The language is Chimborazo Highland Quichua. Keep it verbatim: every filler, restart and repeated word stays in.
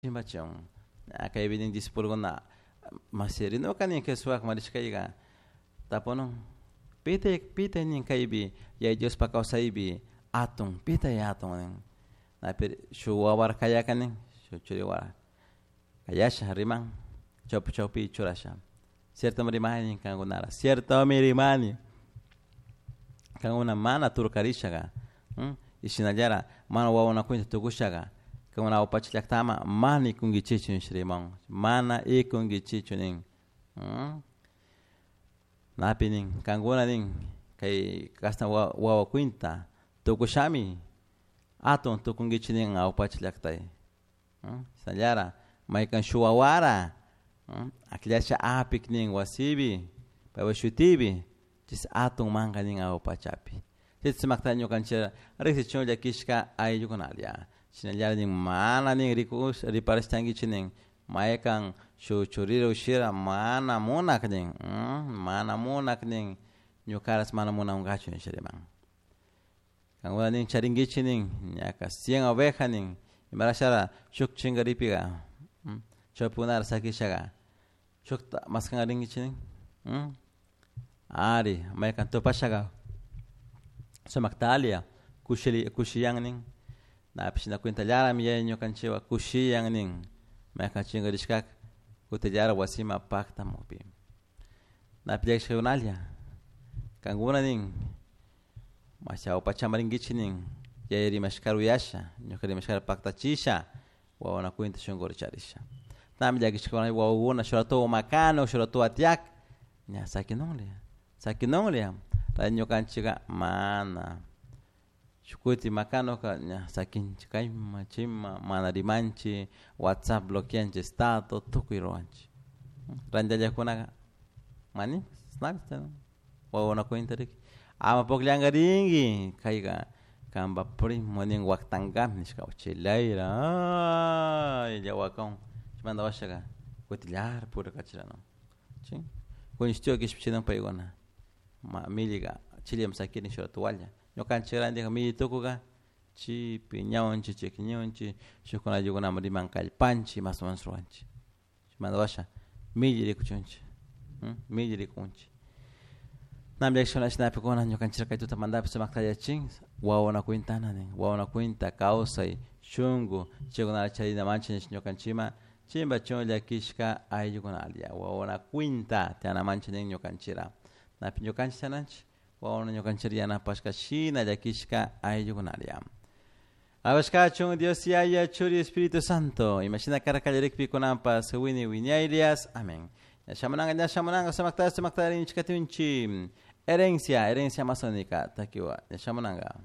Chimbachun kaypi nin discipulokuna masirinuka nin Jesuspajman rishkayka tapunun pitay pitay nin kaypi Yaya Diospak kawsaypi atun pitay atun nin napi shuk wawara kayaka nin shuk churi wawa kayasha riman chawpi chawpi churasha ciertomi rimani kankunara ciertomi rimani kankuna mana turkarishaka y shinallara mana wawakunata tukushaka kankuna awapacha llaktaman mana ikunkichikchu nish riman mana ikunkichikchu nin napi nin kankuna nin kay kashna wawa cuenta tukushami atun tukunkichik nin awapacha llaktay shinallara maykan shuk wawara akllasha apik nin wasipi paypak shutipi chay atun manka nin awapachapi chay sumakta ñukanchik riksichun llakishka ayllukunalla shinallara nin mana nin rikush riparashtankichik nin maykan shuk churira ushira mana munak nin mana munak nin ñukarash mana munankachu nisha riman kankuna nin charinkichik nin ñaka cien oveja nin imarashara shuk chinkaripika chawpikunara sakishaka shukta maskanka rinkichik nin ari maykan tupashaka sumakta kushili kushiyan nin napish shina cuentallarami yaya ñukanchikwan kushiyan nin maykan chinkarishkaka kutillara wasiman paktamukpi napi llakishkakunalla kankuna nin ñawpa rinkichik nin yaya rimashkata uyasha ñuka rimashkata paktachisha wawakuna cuenta shunkuta charisha nami llakishkakuna wawakuna shuk rato makanuk shuk rato tiyak ña sakinunlla sakinunlla ñukanchikka mana shuk kutin makanuka ña sakinchik kayman chayman mana rimanchik WhatsApp bloqueanchik estado tukuy ruwanchik randillakunaka mani wawakuna cuenta riki ama pukllankarinki kayka kanpak primo nin waktankami nishka chilayra aylla wakakun chaymanta washaka kutillara purikachirana chi kunishtiwa kishpichinun paykuna ma millika chillami sakirin shuk rato walla ñukanchik rantika milli tukuka chi piñawanchik chikñunchik shukkuna ayllukunaman riman kallpanchik mas o menos ruwanchik chaymanta washa milli rikuchunchik milli rikunchik nami llakishkuna ñukanchik kay tutamantapish sumakta yachachin wawakuna cuentana nin wawakuna cuenta kawsay shunku chaykunata charinamanchik ñukanchikman chimbachun llakishka ayllukunalla wawakuna cuenta tiyanamanchik nin ñukanchikra napi ñukanchik tiyananchik wawakuna ñukanchik yanapashka shina llakishka ayllukunalla Alabashkachun Dios Yaya Churi Espíritu Santo imashina karka kallarikpi kunanpas wini wiñaylias amén ñashamunanka ñashamunanka sumakta sumakta rinchik katunchik herencia herencia amazónica takiwa ñashamunanka.